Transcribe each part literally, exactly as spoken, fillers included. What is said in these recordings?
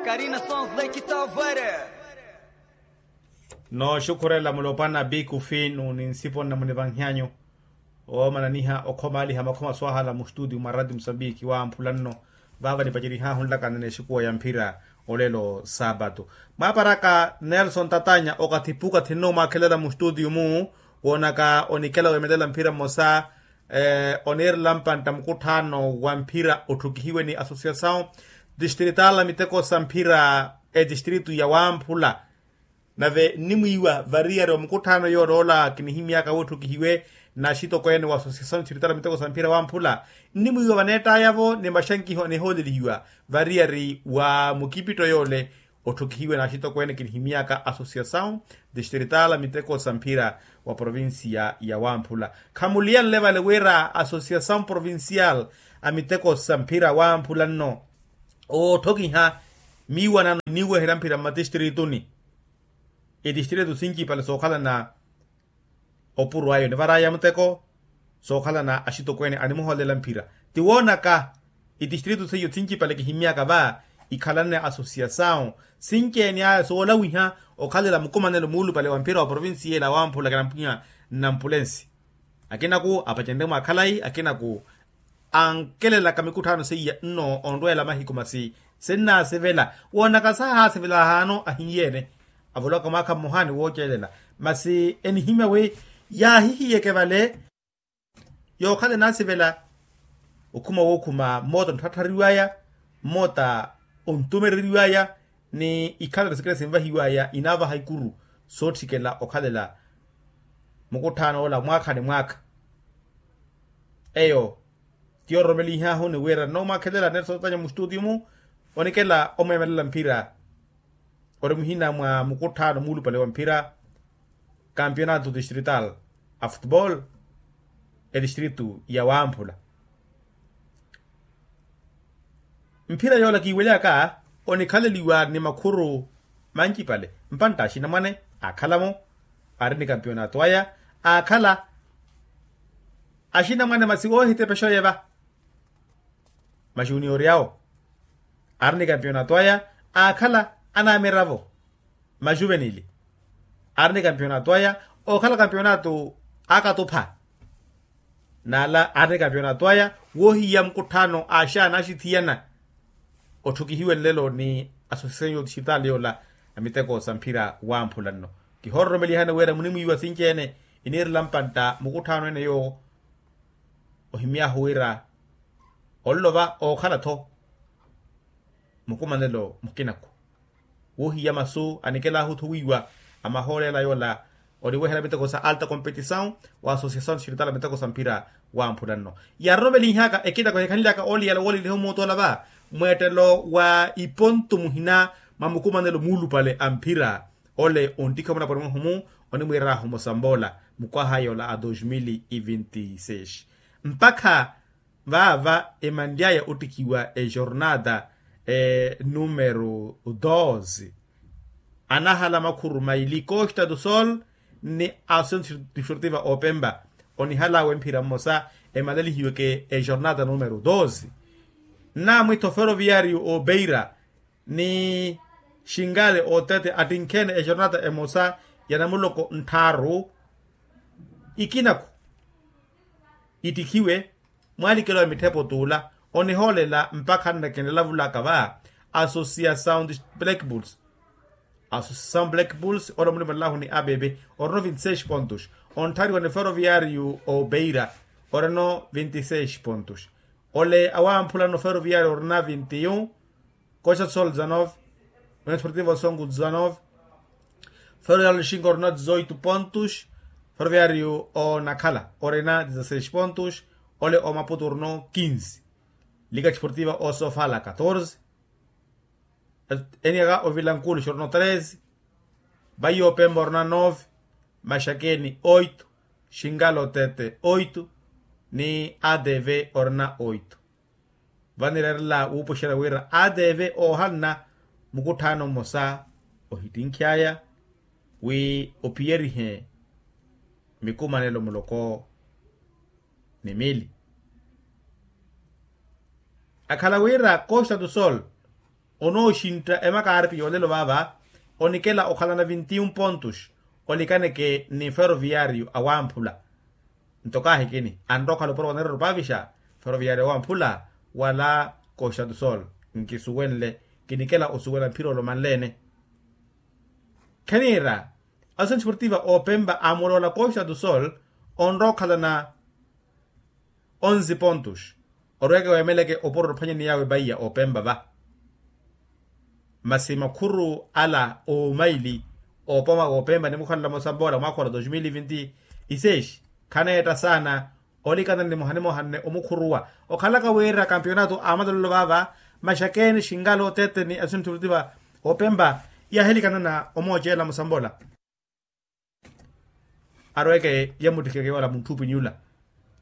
Karina sons lake tavere. Nooxukhurela mulopwana bikufinu ni nsipo nnamunivanhyanyu oomananiha okhomaaliha makhoma swahala mustudio mwa radio musambiki wamphula nno. Vaava nipacerihaahu nlakana n'exikuwa ya mphira olelo saapatu. Mwaaparaka nelson tatanya okathi pukathi nno omwaakhelela mustudio-mu woonaka onikela weemelela mphira mmosa oniirela mpantta mukutthaano wa mphira otthukihiwe ni associação distrital a miteko sa mphira etistritu ya wamphula. Nave nnimwiiwa variyari wa mukutthaano yooloola kinihimyaka wootthukihiwe na axitokweene wa associação distrital a miteko sa mphira wamphula nnimwiiwa vaneettaya-vo ni maxankiho anihoolelihiwa variyari wa mukipitto yoole. Otthukihiwe n'axitokweene kinihimyaka associação distrital a miteko sa mphira wa provincia ya wamphula khamuliyanle vale wira associação provincial a miteko sa mphira wamphula nno ootthokiha miiwanano iniiweherya mphira mmatistriituni. Itistriitu sincipale sookhalana opuro ayo nivaraya muteko sookhalana axitokweene animuhoolela mphira. Tiwoonaka itistriitu seiyo sincipale kihimyaka va ikhalanne associação sinci-ene aya soolawiha okhalela mukumanelo muulupale wa mphira wa provincia ela wamphula kinampwiya nnampulensi. Akinaku apacenrye mwa khalayi akinaku ankelelaka mikutthaano seiya nno onrweela mahiku masi sinnaasivela woonaka saahaasivela ahaano ahiiye-ene. Avolowaka mwaakha mmohaani woocelela masi enihimya wi yaahihiyeke vale yookhala enaasivela okhuma wookhuma mmoota ontthatthariwaya mmoota ontumereriwaya ni ikhalelo sikira sinvahiwaya inaavaha ikuru sootthikela okhalela mukutthaano ola mwaakha ni mwaakha. Eyo ti ororomelinhaahu ni wira nnoomwaakhelela nelson tanya mustutiyu-mu onikela omweemelela mphira ori muhina mwa mukutthaano muulupale wa mphira kampionato distrital a futebol etistritu ya wamphula. Mphira yoola kiiwelyaka onikhaleliwa ni makhuru mancipale mpantta axinamwane aakhala-mo aari ni kampionato aya aakhala axinamwane masi oohitepexa oye va majuniori awo aari ni kampionato aya aakhala anaamiravo majuvenili aari ni kampionato aya ookhala kampionato akatupha n'ala aari ni kampionato aya woohiya mukutthaano axaana axithiyana otthukihiwe nlelo ni associação yo distrital yoola a miteko sa mphira wamphula nno. Kihoororomelihani wira munimwiiwa sinci-ene iniirela mpantta mukutthaano ene yoowo ohimy'ahu wira onlova ookhala-tho mukumanelo mukinaku woohiya masu anikel'ahu-tho wiiwa amahoolela yoola oniwehela miteko sa alta competição wa associação distrital miteko sa mphira wamphula nno. Yaaroromelinhaka ekinako ehikhanly'aka ooliyala wooleliha omuutu ola va mweettelo wa ipontu muhina mwa mukumanelo muulupale a mphira ole onttikhiwa munaponi mwahu-mu onimwiir'ahu musamboola mukwaha yoola a dos mil e vinte e seis mpakha vaava emanly'aya ottikhiwa ejornada numero doze anahala makhuru maili costa do sol ni associação desportiva opemba onihal'awe mphira mmosa emalelihiweke ejornada numero doze. Nnaamwitho ferroviario obeira ni xingale otete attinkheene ejornada emosa ya namuloko nttharu ikinaku ittikhiwe mwalikelo ya mitthepo t'ula onihoolela mpakha nnakenlavulaka va associação black bulls. Associação black bulls ori omulimonelahu ni abebe orino vinti seis pontos ontthariwa ni ferroviario obeira orino vinti seis pontos ole awamphulano ferroviario orina vinti un costa do sol dezanove união desportiva songo dezanove ferroviario lixinga orina dezoito pontos ferroviario onakhala orina dezaseis pontos ole omaputo orino quinze liga desportiva osofala catorze eniaka ovilankulu xorino treze vayi opemba orina nove maxakeni oito xingalo tete oito ni adv orina oito. Vanireerela wuupuxela wira adv oohanna mukutthaano mmosa ohittinkh'aya wi ophiyerihe mikumanelo muloko ni mili akhala wira costa do sol onooxintta emakaarpi yoolelo vaava. Onikela okhalana vinti un pontus olikaneke ni ferroviario awamphula. Nto kaahikini anrowa okhala opuro waneerero paavixa ferroviario awamphula wala costa do sol. Nkisuwenle kinikela osuwela mphira olomanleene. Kheniira aso ntiportiva opempa amuloola costa do sol onrowa okhalana onzi pontus. Orweke weemeleke opuro ophwanyani yawe baiya opempa va masi makhuru ala omaili opoma wopempa nimukhalala mosambola mwakhola dos mil vinti seis. Khaneetta saana olikana ni muhanimohanne omukhuruwa okhalaka wira kampionato amalolelo vaava. Maxakeeni xinkalo tete ni asuntu lutiva opempa yahelikanana omoocela musambola. Arweke yamuttikeke wala muntthuupini yula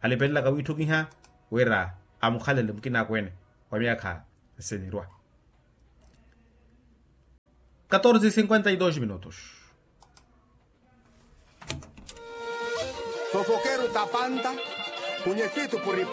alipelelaka wiitthukiha wira amukhalele mukina akweene wa myaakha nsinirwa. Katorze cinquenta y dos minutos. Fofokeru tapanta kunyesitu puri.